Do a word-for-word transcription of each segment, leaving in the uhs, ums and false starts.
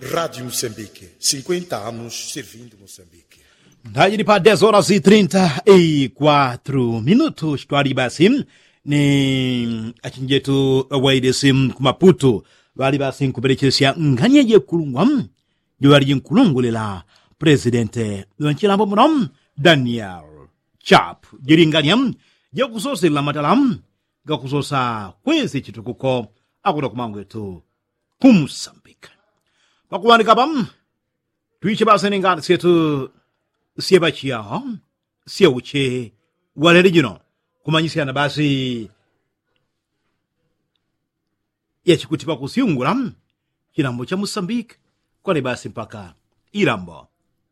Rádio Moçambique, cinquenta anos servindo Moçambique. Ndajili pa dez horas e trinta e quatro minutos twali basi ni achinjetu wailisi ku maputu. Ŵali basi nkupelechesya ngani yeje kulungwa, juŵaliji nkulungulila presidente ŵanchilambo muno daniel chap jilingania jakusoselela matala gakusosa kwesi chitukuko akuno kumangwetu kumusambika. Pakuŵanika apa twiche basi ni ngani syetu syepachiyawo syauche waleli jino kumanyisyana basi yachikuti pakusyungula chilambo cha musambika kwali basi mpaka ilambo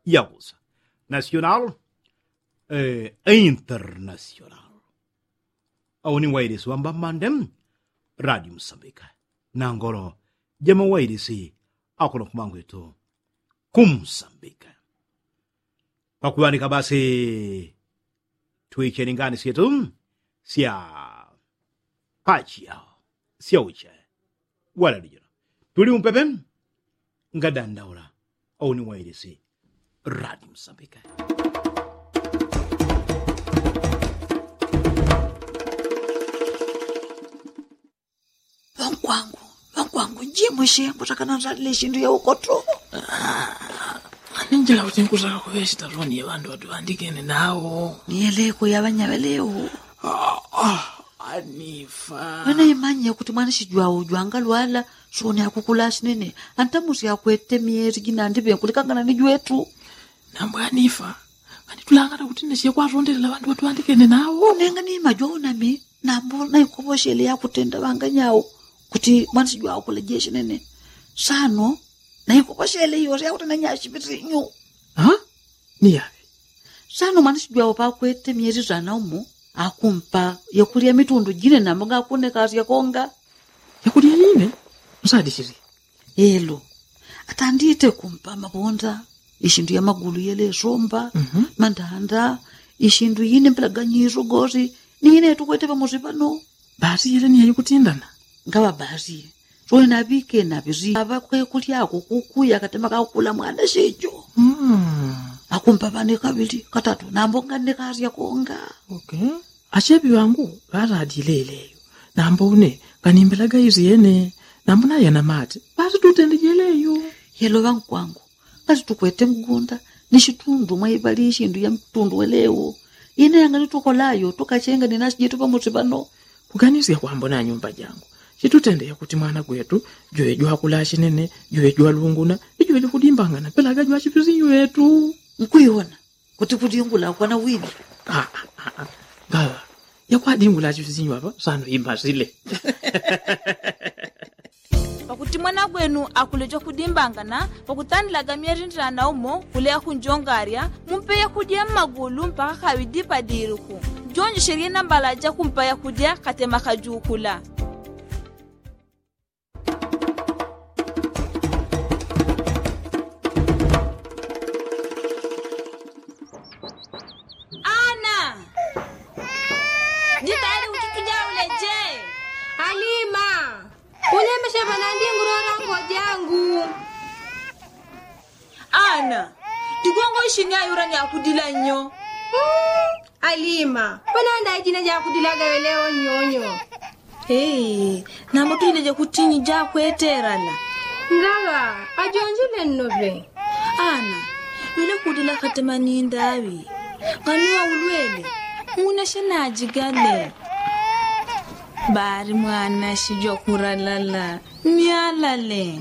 yakusa national international. Awo ni wailisi wamba mmande radio musambika nangolo jama wailisi akuno kumangwetu kumusambika. Pakuŵanika basi twiche ni ngani syetu sya pachiyawo syauche waleli jino tuli umpepe ngadandaula. Awo ni wailisi radio musambika. Ŵankwangu, ŵankwangu njimwishe mbutakana nzalile shindu yaukoto. Ninjila kuti nkutaka kuŵe shitaloni ya ŵandu ŵatuŵandikene nawo. Niyeleko ya ŵanyaŵelewo. Anifa. Ŵanaimanye kuti mwanishijwawo jwangalwala soni akukula ashinene. Antamusi akwete myeli jinandiŵe nkulikangana ni jwetu. Nambwanifa. Kanitulangana kuti nesiye kwatondelela ŵandu ŵatuŵandikene nawo. Nenga ni majwawo nami nambo naikoŵoshele yakutenda ŵanganyawo kuti mwanishijwawo kula jeshinene. Sano naikoŵoshele iyose yakuti nanyashipitinyu. Niyaŵe. Sano mwanishijwawo pakwete myeli sana umo akumpa yakulya mitundu jine nambo ngakunekasya konga. Yakulya ine? Msadishili. Elo. Atandite kumpa mabonda ishindu ya magulu yelesomba, mandanda, ishindu yine mpelaganyiso gosi ni yine yatukwete ŵamosi ŵano. Basi yele ni yayikutindana. Ngaŵa basi. Soni naŵike naŵisi aŵa kwekulyako kukuya katema kakukula mwana shejo. Akumpa ŵane kaŵili katatu nambo nganekasya konga. Acheŵi ŵangu ŵaladile yeleyo nambo une nganimbelaga isyene. Nambo nayana mate ŵatitutende jeleyo. Yelo ŵankwangu ngati tukwete mgunda ni shitundu mwaiŵali ishindu ya mtundu welewo. Ine yanganitukolayo tukachenga ni nasi jetu ŵamosi ŵano. Kuganisya kwambona nyumba jangu chitutende yakuti mwana gwetu juŵe jwakula ashinene juŵe jwalunguna ni juŵe jwakudimbangana mpelaga jwachipisinyu yetu. Nkuiwona kuti kudingula kwana wini. Ngaŵa yakwadingula achifisinyu apa sano imasile. Pakuti mwana gwenu akuleja kudimbangana pakutandilaga myerindilana umo kuleya kunjongarya mumpe yakudya mmagulu mpaka kaŵidi padiluku. Jonjeshelye nambala jakumpa yakudya katema kajukula. Ana. Jitayali kuti tujaule je? Alima. Ulemeshe panandi ngurora ngo jangu. Ana. Tigongo ishini ayura ni akudila nyo. Alima. Pananda ijina jakudilaga yeleo nyonyo. Ee. Nambo tujileje kutinyi jakweterana. Ngaŵa ajonjile nnoŵe. Ana. Wile kudila katema ni ndaŵi. Nganuwa ulwele. Muneshe najigale. Bari mwana shijwa kuralala. Myalale.